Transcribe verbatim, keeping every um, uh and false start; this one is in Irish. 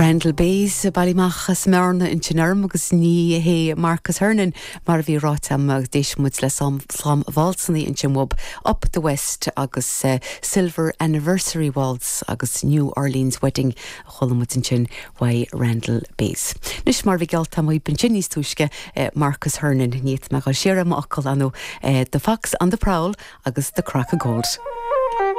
Randall Bays bailímach smearna in sinarm agus ní hé Marcus Hernon mar bhí ráite agus d'éist muid le slám válsanna ansin uaidh Up the West agus uh, Silver Anniversary Waltz agus New Orleans Wedding a chuala muid ansin uaidh Randall Bays. Anois mar bhí geallta b'in níos túisce uh, Marcus Hernon níot me go siar m'fhocal anú uh, The Fox on the Prowl agus the Crock of Gold.